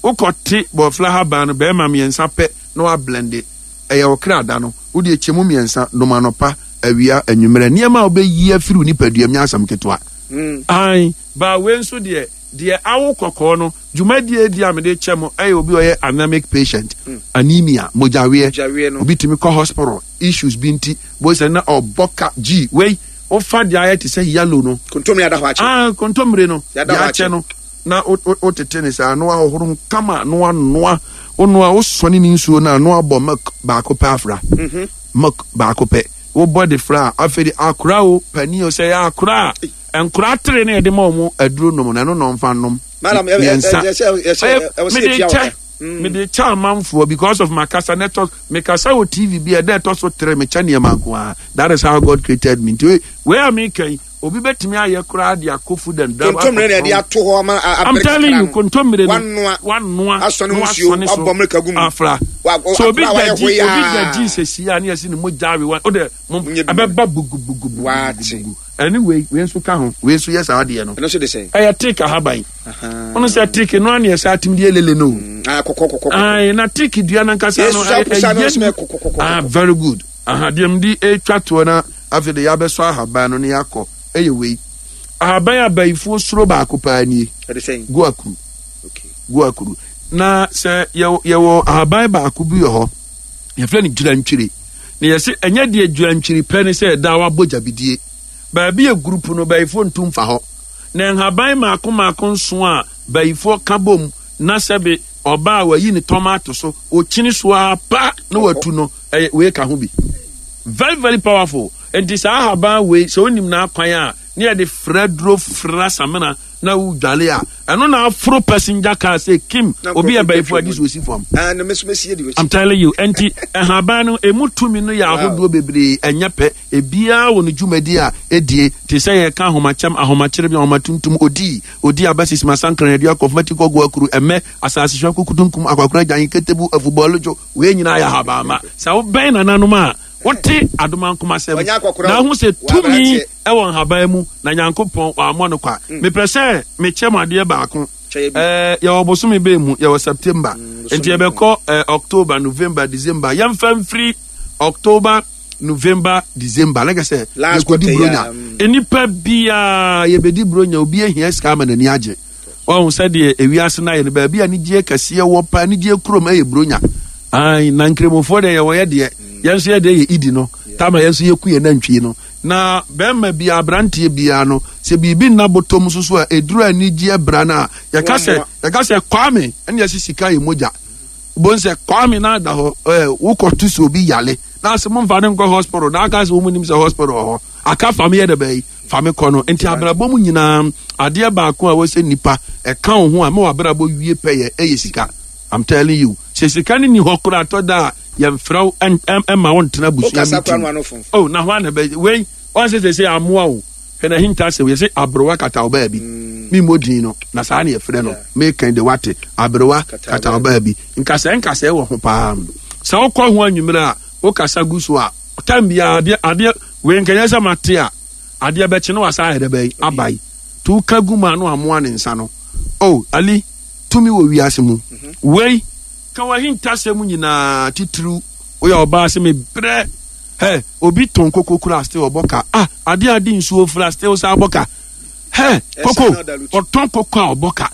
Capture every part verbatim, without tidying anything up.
Wokɔte bɔfla haban no bɛrima mmiɛnsa pɛ na wablende. Ɛyɛ wo kra da no, wode ɛkyɛ mu mmiɛnsa, nom anɔpa, awia, anwummerɛ. Nneɛma a wobɛyi afiri wo nipadua mu nyɛ asɛm ketewa. Ae, baa wei nso deɛ, deɛ awo kɔkɔɔ no, dwumadie di a mede kyɛ mo ɛyɛ obi a ɔyɛ anemic patient, anemia, mogyaweɛ. Mogyaweɛ no. Obi tumi kɔ hospital, issues bi nti, boy sɛ na ɔbɔ ka gyi wei, wofa deɛ ayɛ te sɛ yellow no. Kontomire ada hɔ akyɛ. Ah, kontomire no, Yɛada deɛ hɔ akyɛ akyɛ. no, na wo- wo- wotete ne saa na wahohoro ho kama na wanoa. Wonoa, wosɔne ne nsuo no a, na wabɔ milk baako pɛ afra. Milk baako pɛ wobɔ de fra a, afei de akora o, panin o, sɛ yɛ akora a, nkora tere ne yɛde ma ɔmo aduro nom no, ɛno na ɔmfa nom. Madam, ɛ- ɛ- mmiɛnsa. ɛ- ɛsɛ- ɛsɛ- ɛwɔ sɛ Mede yɛtua wo kyɛ ka. mede kyɛ amanfoɔ because of makasa na ɛtɔ mekasa wɔ T V bi a ɛda ɛtɔ so tere, mekyɛ nneɛma nko a. That is how God created me. Nti wei- wei a meka yi, obi bɛtumi ayɛ koraa de akɔ Food and Drug. Kontomire na yɛde ato hɔ ama a- I'm abere telling kakra you, no. kontomire no, Wanoa. wanoa, Asɔne na ho nsuo, wasɔne so, wabɔ mmirika gu mu. Afra. Wa- wa- So obi akora a wayɛ da gyi, obi hoyaa. da gyi sɛsi a ne yɛsi ne mogya awe wa o de mo Nyɛ bi. ɛbɛba bugubugubugu. Waate. Ɛne wei wei nso ka ho, wei nso yɛ saa adeɛ no. Ɛno nso de sɛn? Ɛyɛ teak ahaban. Ɔno sɛ teak no ani ɛsɛ atim deɛ lele no o. Ah, kɔkɔ kɔkɔ kɔkɔ. Ayi, na teak dua nankasa no Yesu apusa no ɛyɛ nso yɛ kɔkɔ kɔkɔ. Ah, very good. Aha deɛ m de etwa toɔ na afei de yabɛsɔ ahaban no ne yakɔ, ɛyɛ wei, ahaban abayifoɔ soro baako paa nie. Ɛde sɛn? Guakuru. Okay. Guakuru na sɛ yɛwɔ yɛwɔ ahaban baako bi wɔ hɔ, yɛfrɛ no gyirantwiri, na yɛsɛ ɛnyɛ deɛ gyirantwiri pɛ ne sɛ ɛda wabɔ gyabidie baabi yɛ group no, bayifoɔ ntum fa hɔ. Na nhaban maako maako nson a bayifoɔ ka bom na sɛbe ɔbaa a wayi ne tɔma ato so, ɔkyini so a pa na watu no, ɛyɛ wei ka ho bi, very very powerful. Nti saa ahaban wei, sɛ wonim n'akwan a ne yɛde frɛ duro fra samina na wodwale a, ɛno na aforo passenger car sɛ kim Na obi yɛ nkurɔfoɔ bayifoɔ twatwa adi mu. so osi fam. Ah, na meso mesie di w'akyi. I'm telling you, nti nhaban no emu tumi no yɛ ahodoɔ bebree, ɛnyɛ pɛ. Ebiara wɔ ne dwumadi a edie, te sɛ yɛka ahomakyɛm, ahomakyerɛ bi, ahomatuntum, odi odi aba sisi masankran adua kɔfmati kɔgu akuru ɛmɛ asase hwɛ kukutunkum akwakora gyan ketebu afubɔlodwo. Wei nyinaa yɛ ahabamma. Sɛ wobɛn nananom a wote adomankomasɛm Ɔnyɛ akɔkora na o. ahu sɛ Wɔ tumi aberanteɛ. ɛwɔ nhaban mu na Nyankopɔn wammɔ no kwa. Mepɛ sɛ mekyɛ mo adeɛ baako. Kyɛ yɛ bi. Ɛɛ, yɛwɔ bosome bɛɛ mu, yɛwɔ September, Bosome nti yɛbɛkɔ ɛɛ October, November, December. Yɛmfa mfiri October, November, December lɛkɛ sɛ Last yɛkɔdi quarter yi a, Buronya. mm. Nnipa biaa yɛbɛdi Buronya, obi ahia sika ama n'ani agye. Ɔhu sɛdeɛ ewiase no ayɛ no, baabi a anigyeɛ kɛseɛ wɔ pa, anigyeɛ kurom ɛyɛ Buronya. Ai, na nkramofoɔ deɛ, yɛwɔ yɛ deɛ, yɛn nso yɛ deɛ yɛ idi no tama, yɛn nso yɛku yɛn nantwie no. Na bɛrima biara, aberanteɛ biara no, sɛ biribi nna bɔtɔm nso so a, ɛduru anigyeɛ bra no a, yɛka sɛ Wɔmmoa. Yɛka sɛ Kwame ɛne yɛsi sika yɛ mogya bon sɛ Kwame na ada hɔ ɛɛ wokɔto sɛ obi yale na asɛ momfa ne nkɔ hospital na aka sɛ wɔn nim sɛ hospital wɔ hɔ aka fam yɛ dɛ bɛyi fame kɔ no. Nti abrabɔ mu nyinaa, adeɛ baako a wɔsɛ nipa ɛka wo ho a ma wabrabɔ wie pɛyɛ ɛyɛ sika. I'm telling you, sɛ sika no ni hɔ koraa, atɔ da a yɛmfrɛ wo ɛn- ɛn- ɛma wo ntena abusua Wokasa koraa meeting. no ano fomfom. Oh, na hɔ ana bɛ wei wɔn sɛ sɛ sɛ amoa o, hwɛ na hinta sɛ yɛsɛ aberewa kata wo baabi, mi mmɔ din no na saa ne yɛfrɛ no. Mekan de wate aberewa Kata kata wo baabi, nkasɛɛ nkasɛɛ wɔ ho paa. Sɛ wokɔ ho anwummerɛ a, wokasa gu so a, tam biara adeɛ adeɛ wei nkɛnyɛ sɛ mate a, adeɛ bɛkye no wasa ayɛ dɛ bɛyi abae nti woka gu mu a, no amoa ne nsa no. Oh, Ali, tumi wɔ wiase mu. Wei ka w'ahintasɛm nyinaa, titiriw woyɛ ɔbaa sɛ mebrɛ hɛ, obi tɔn koko kura still ɔbɔ ka. Ah, adeɛ ade nsuo fura still sa abɔ ka hɛ koko. Ɛsa na ɔda. Ɔtɔn koko a ɔbɔ ka,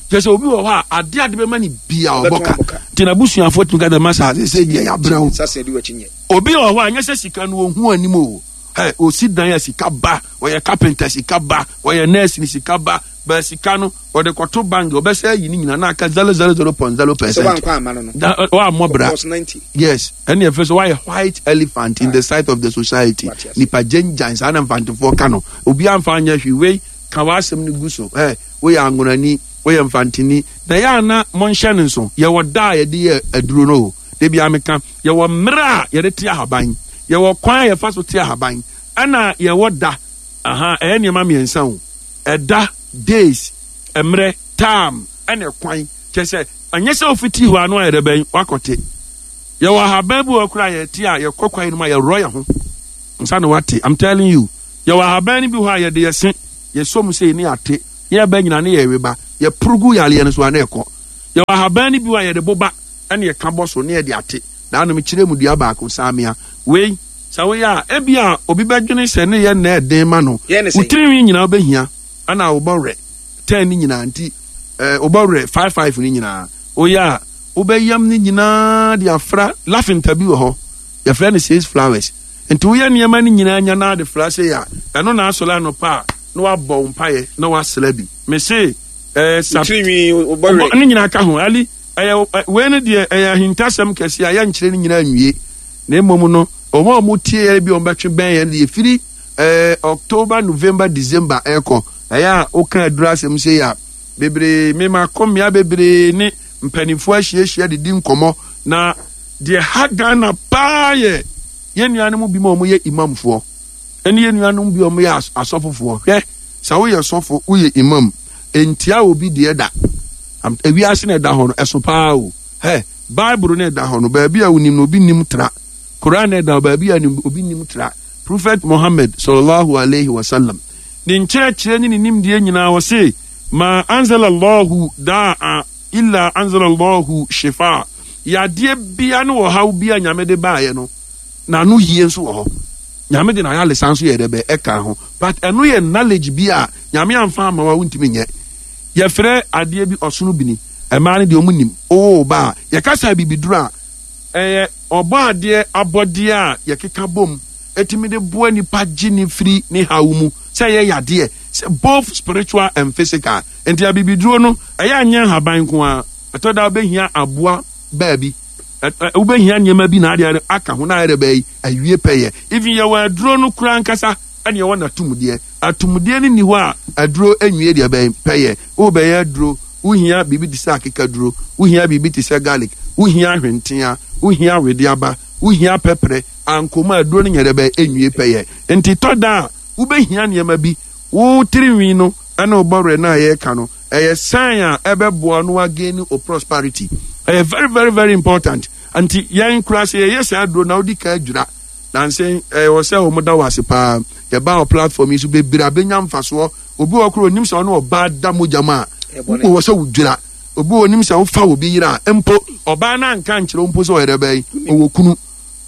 kyerɛ sɛ obi wɔ hɔ a adeɛ ade bɛma ne bia ɔbɔ ka. Ɔbɛtɔn abɔ ka. Nti n'abusuafoɔ tumi ka dɛ masa sɛ deɛ yɛabrɛ wo. Sase di w'akyi nyɛ. Obi wɔ hɔ a nyɛ sɛ sika no ohu anim o, hɛ, osi dan a sika ba, ɔyɛ carpenter sika ba, ɔyɛ nurse ni sika ba, bɛɛ sika no ɔde kɔto bank, ɔbɛsɛ ayi ne nyinaa na aka zero zero zero point zero Sɛ percent. wankɔ ama no no. Da wammɔ bra. Plus ninety. Yes, ɛne ɛfɛ sɛ wayɛ white elephant in the sight of the society. Wate ase. Nipa gyengyan saa na mfantefoɔ ka no, obi amfa anyɛ hwee. Wei ka w'asɛm no gu so. Ɛ, woyɛ angonani, woyɛ mfanteni, na yɛ ana monhyɛ no nso, yɛwɔ da a yɛde yɛ aduro no o. De bia meka, yɛwɔ mmerɛ a yɛde te ahaban, yɛwɔ kwan a yɛfa so te ahaban, ɛna yɛwɔ da. Aha ɛyɛ nneɛma mmiɛnsa o: ɛda, days, mmerɛ, time, ɛna ɛkwan. Kyerɛ sɛ ɛnyɛ sɛ ofiti hɔ ano ayɛ dɛ bɛn wakɔte. Yɛwɔ ahaban bi wɔ koraa yɛte a, yɛkɔ kwan no mu a, yɛrɔ yɛn ho nsa na wate. I'm telling you, yɛwɔ ahaban no bi hɔ a yɛde yɛse yɛsɔ mu sɛ ne ate ne yɛbɛ nyina ne yɛwe ba, yɛporo gu yareɛ no so a na ɛkɔ. Yɛwɔ ahaban no bi wɔ a yɛde boba ɛne yɛka bɔ so ne yɛde ate. Daa no mekyerɛ mu dua baako saamea. Wei sɛ woyɛ a ebi a obi bɛdwene sɛ ne yɛ nna ɛden ma no. Yɛ ne Wo sɛn? tirinwi nyinaa wobɛhia ɛna wobɔ werɛ ten ne nyinaa nti ɛɛ wobɔ werɛ five five ne nyinaa. Woyɛ a wobɛyam ne nyinaa de afra lafinta bi wɔ hɔ yɛfrɛ no six flowers nti woyɛ nneɛma no nyinaa nya na ade fra sei a ɛno na asɔre anɔpa a na wabɔ wo mpaeɛ na wasra bi mese ɛɛ sa Tirinwi wobɔ Ɔbɔ- ne nyinaa ka ho ali ɛyɛ ɛ, wei no deɛ ɛyɛ ahintasɛm kɛseɛ a yɛnkyerɛ no nyinaa nwie na mmom no ɔmo a ɔmo tie yɛn bi a ɔmo bɛtwe bɛn yɛn deɛ firi ɛɛ october november december ɛkɔ ɛyɛ a woka aduru asɛm sei a bebree mema kɔ mmea bebree ne mpanimfoɔ ahyiahyia didi nkɔmɔ na deɛ ha ghana paa yɛ yɛn nuanom bi ma ɔmo yɛ imamfoɔ ɛne yɛn nuanom bi a ɔmo yɛ as- asɔfofoɔ hwɛ sɛ woyɛ sɔfo woyɛ imam ntia obi deɛ da Am- ewiase na ɛda hɔ no ɛso paa o hɛ bible na ɛda hɔ no baabi a wonim no obi nim tra koran na ɛda hɔ baabi a nim- obi nim tra prophet mohammed sallallahu alaihi wasallam ne nkyerɛkyerɛ ne ne nimdeɛ nyinaa wɔ se ma anzalallahu daa illa anzalallahu shifa yadeɛ bia ne ɔhaw bi a nyame de baeɛ no n'ano yie nso wɔ hɔ nyame de n'ayalesa nso yɛ dɛ bɛ ɛka ho but ɛno yɛ knowledge bi a nyame amfa ama wa wontumi nyɛ yɛfrɛ adeɛ bi ɔsono bini ɛmaa no deɛ ɔmo nim owó ba a yɛkasa bibiduro a ɛyɛ ɔbɔ adeɛ abɔdeɛ a yɛkeka bom ɛtumi de boa nipa gye ne firi ne haw mu sɛ ɛyɛ yadeɛ sɛ both spiritual and physical nti abibiduro no ɛyɛ anyɛ nhaban nko a ɛtɔ da wobɛhia aboa baabi ɛ- ɛ- wobɛhia nneɛma bi na adeɛ no aka ho na ayɛ dɛ bɛyi awie pɛyɛ even yɛwɔ aduro no kora ankasa ɛne yɛwɔ n'atumdeɛ atumdeɛ no ni hɔ a aduro nwie deɛ bɛn pɛyɛ wobɛyɛ aduro wohia biribi te sɛ akekaduro wohia biribi te sɛ garlic wohia ahwentea wohia wedeaba wohia pɛprɛ ankoma aduro no nyɛ dɛ bɛn nwie pɛyɛ nti tɔ da a wobɛhia nneɛma bi wo tirinwi no ɛne wo bɔwerɛ no a yɛreka no ɛyɛ sign a ɛbɛboa no again o prosperity ɛyɛ very very very important nti yɛn kura sɛ yɛyɛ saa aduro na wodi kan adwira nansi ɛwɔ sɛ wɔn da wɔ ase paa yɛba wɔ platform yi so bebree abɛnya mfasoɔ obi wɔ koro onim sɛ ɔne ɔbaa da mogya mu a Ɛbɔne. wɔ sɛ wodwira obi wɔ onim sɛ wofa obi yere a mpo ɔbaa no anka nkyerɛ wo mpo sɛ ɔyɛ dɛ bɛyi ɔwɔ kunu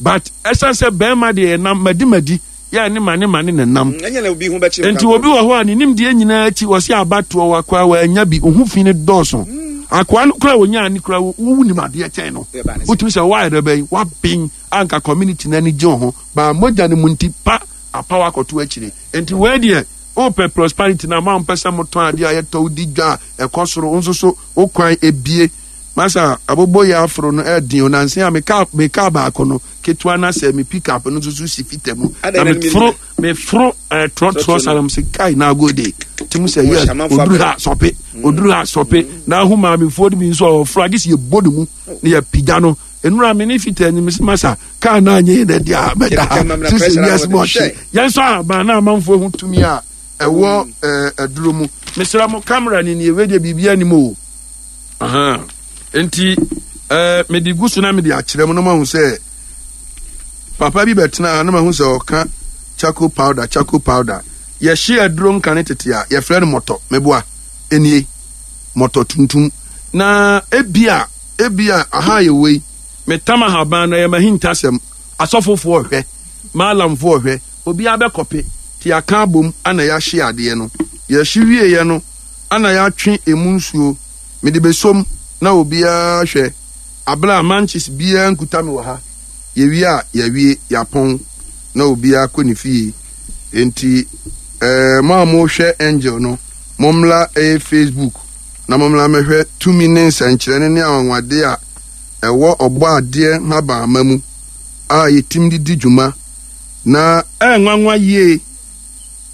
but ɛsiane sɛ bɛrima deɛ yɛnam madi madi yɛ ne ma ne ma ne nenam ɛnyɛ na obi ho bɛkyerɛ nti obi wɔ hɔ a ne nimdeɛ nyinaa akyi wɔsi abatoɔ wɔ akoa wɔanya bi ohu fi ne dɔɔso akoa no kora wɔnya ne kora wowu nim adeɛ kyɛn no wotumi sɛ woayɛ dɛ bɛyi woaben anka community no ani gye wo ho baa mogya no mu nti pa apa wakɔto akyire nti wei deɛ wopɛ prosperity na ma mpɛ sɛ motɔn adeɛ a yɛtɔ wodi dwa a ɛkɔ soro wo nso so wo kwan ebie masa abobɔ yɛ aforo no ɛden o nanse a meka meka baako no ketewa na sɛ me pick up no nso so si fita mu Adɛn na na no meforo meforo ɛɛ trɔtrɔ salam sɛ kai na ago de tim sɛ Wɔhyɛ yɛ amanfoɔ oduru abrɛ. ha sɔpe oduru ha sɔpe na ahu maamefoɔ no bi nso a wɔforo agye sɛ yɛbɔ ne mu ne yɛpigya no enura mi ne fita anim sɛ masa kaa na anyɛ yɛ dɛ deɛ a mɛda ha Yɛpigya mam na sisi pressure na wiase mu wɔde ɔhye hyɛ. yɛn nso aban na amanfoɔ ho tumi a ɛwɔ ɛɛ aduro mu mesra mo camera ni nie wei deɛ biribi anim o Ahan. nti ɛɛ mede gu so na mede akyerɛ mu na mahu sɛ papa bi bɛtena ha na mahu sɛ ɔka charcoal powder charcoal powder yɛhye aduro nka ne tete a yɛfrɛ no mɔtɔ meboa enie mɔtɔ tuntum na ebia ebia aha yɛ wei metam ahaban no ɛyɛ mahintasɛm asɔfofoɔ hwɛ maalamfoɔ hwɛ obiara bɛkɔpe te aka abom ana yɛahye adeɛ no yɛhye wieɛ no ana yɛatwe emu nsuo mede besom na obiara hwɛ abena manches biara nkuta me wɔ ha yɛwie a yɛawie yɛapɔn na obiara kɔ ne fie nti ɛɛ mo a mohwɛ angel no mommla ɛyɛ facebook na mommla mɛhwɛ tumi ne nsɛnkyerɛnne ne anwanwade a ɛwɔ ɔbɔ adeɛ nhabanma mu a yɛtim de di dwuma na ɛnwanwa yie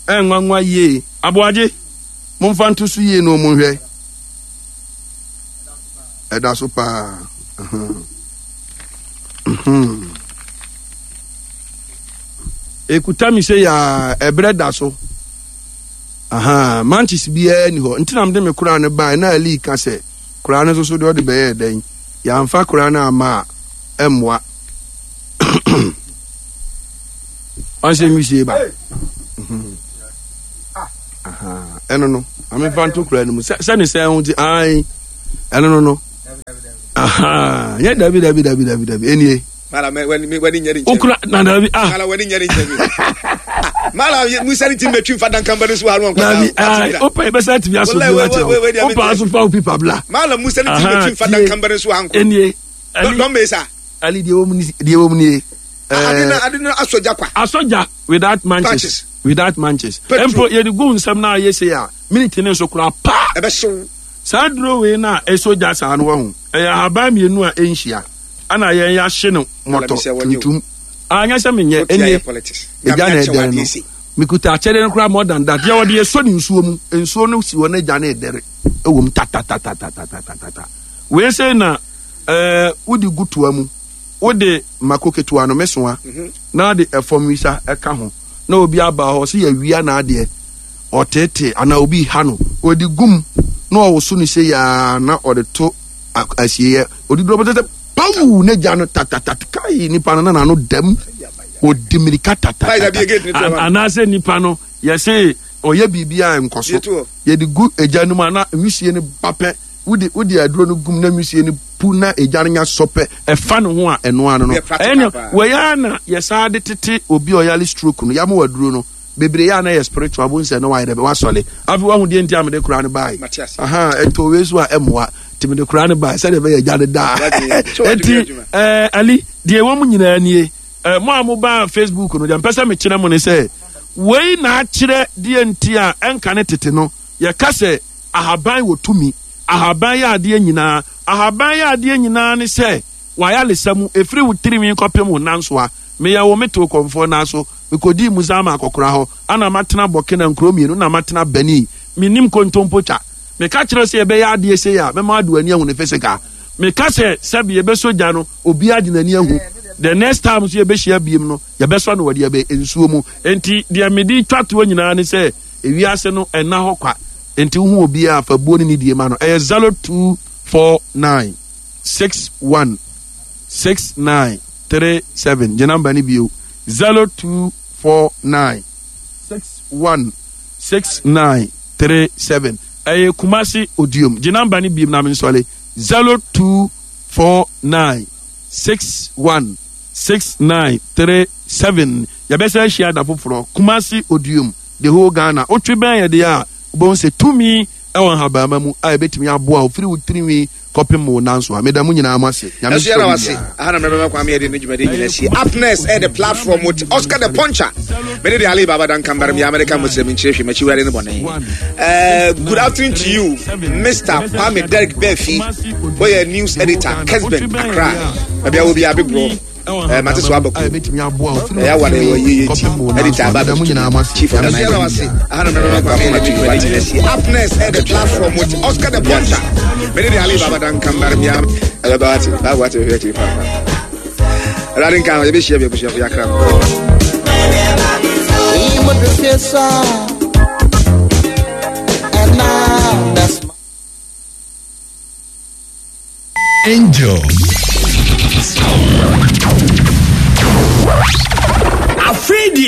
ɛnwanwa yie aboagye momfa nto so yie na ɔmo nhwɛ ɛda so paa Ahan. Mhm. ekuta mi sɛ yaa ɛbrɛ da so aha manches biara ni hɔ nti na mede me koraa no bae na ali ka sɛ koraa no nso so deɛ ɔde bɛyɛ dɛn yɛamfa koraa no ama a ɛmmoa ɔnsɛ nwisie ba Mhm. Aha, ɛno no amefa nto koraa no mu sɛ sɛne sɛ ho nti ae ɛno no no Aha, nyɛ dabi dabi dabi dabi dabi enie. Mala mɛ wani wani nyɛ ni nkyɛn. Okura na dabi ah. Mala wani nyɛ ni nkyɛn mi. Mala musa ni ti mɛ twi nfa dankan ba ni so anu nkɔta. Dabi aa o pa ebɛsɛ tumi aso bi wa kyɛ o. O pa aso fa o pipa bila. Mala musa ni ti mɛ twi nfa dankan ba ni so anu nkɔta. Enie. Dɔn bɛ sa. Ali deɛ wɔm ni deɛ wɔm nie. Ade na ade na asɔgya kwa. Asɔgya without matches. Without matches. Mpo yɛde gu nsɛm na ayɛ se a minute ne nso koraa paa. Ɛbɛhyew. Saa duro wei na ɛsɔ gya saa no wahu. Ɛyɛ ahaban mmienu a ɛnhyia. Ana yɛn yɛahye no mɔtɔ tuntum. Anyɛ sɛ menyɛ ɛnie. Ɛgya na ɛdɛre no. Mekuta akyɛdeɛ no koraa more than that. Yɛ wɔde yɛsɔ ne nsuo mu. Nsuo no si hɔ na gya no ɛdɛre. Ɛwɔ mu tatatatatata. Wei sɛ na ɛɛ wode gu toa mu. Wode mako ketewa no mesoa mhm. na de ɛfam wisa ɛka ho na obi aba hɔ sɛ yɛawia n'adeɛ ɔteetee anaa obi ha no ɔde gum na ɔwoso no sɛ yaa na ɔde to asieɛ ɔde duro bɛtɛtɛ pawu ne gya no tatatat kai nipa no na n'ano dam ɔdi mirika tatatat anaasɛ nipa no yɛse ɔyɛ biribi a nkɔ so yɛde gu egya no mu ana nwisie no ba pɛ wode wode aduro no gum na nwisie no pu na egya no nya sɔ pɛ ɛfa ne ho a ɛno ano no ɛne wɔyɛ na yɛsaa de tete obi a ɔyare stroke no yɛama wɔ aduro no bebree yɛ a na yɛ spiritual bo nsɛ na wayɛ dɛ wasɔle afei wahu deɛ nti a mede koraa no bae aha ɛtɔ wei so a ɛmmoa nti mede koraa no bae sɛdeɛ ɛbɛyɛ agya no daa nti ɛɛ ali deɛ ɛwɔ mu nyinaa nie ɛɛ mo a mo ba Facebook no deɛ mpɛ sɛ mekyerɛ mo ne sɛ wei na akyerɛ deɛ nti a ɛnka ne tete no yɛka sɛ ahaban wɔ tumi ahaban yɛ adeɛ nyinaa ahaban yɛ adeɛ nyinaa ne sɛ wayalesa mu ɛfiri wo tirinwi kɔpem wo nansoa meyɛ wo metew kɔmfoɔ naa so Mekodii Muzama akɔkora hɔ, ana matena Burkina nkuro mmienu na matena Benin. Mennim kontompo twa. Meka kyerɛ sɛ yɛbɛyɛ adeɛ sei a, mɛma ade w'ani ahu no physical. Meka sɛ sɛbe yɛbɛsɔ gya no, obiara de n'ani ahu. The next time nso yɛbɛhyia biem no, yɛbɛsɔ no wɔ deɛ bɛ nsuo mu. Enti deɛ mede twa toɔ nyinaa ne sɛ, ewiase no ɛnna hɔ kwa. Enti wohu obiara a, fa buo ne nidie ma no. Ɛyɛ zero two four nine six one six nine three seven. Gye namba no bio. Zero two four nine six one six nine three seven. Ɛyɛ Kumasi Odiom. Gye namba no biem na mensɔle. Zero two four nine six one six nine three seven. Yɛbɛsɛ ahyia da foforɔ. Kumasi Odiom. The whole Ghana. Wotwe bɛn yɛ deɛ a wobɛhu sɛ tumi ɛwɔ nhabamma mu a ɛbɛtumi aboa wo firi wo tirinwi kɔpem wo nan so a meda mo nyinaa mo ase. Nyame Ɛso yɛda wase. Aha na mmerɛ bɛma kwame yɛde ne dwumadi nyina sie. Up next ɛyɛ the platform with Oscar the Puncher. Mene de Ali Baba Duncan Baram yɛ America Muslim nkyerɛ hwɛ makyi wurade ne bɔne. Uh, good afternoon to you, Mister Kwame Derek Befi. Wɔyɛ news editor, Kesben, Accra. Baabi a wɔ bi abebrɔ. Eh, mate so abako. Ɛyɛ aware wɔ yeye ti. Editor aba bɛtutu. Chief organizer. Aha na mmerɛ bɛma kwame yɛde ne dwumadi nyina sie. Up next ɛyɛ the platform with Oscar the Puncher. Mene de Ali Baba Duncan Baram yɛ ɛbɛba wate. Baabu wate bɛhwɛ akyiri paa. Awurade nka ho yɛbɛhyia bi abusuafo yɛakra no. Angel. Afei deɛ.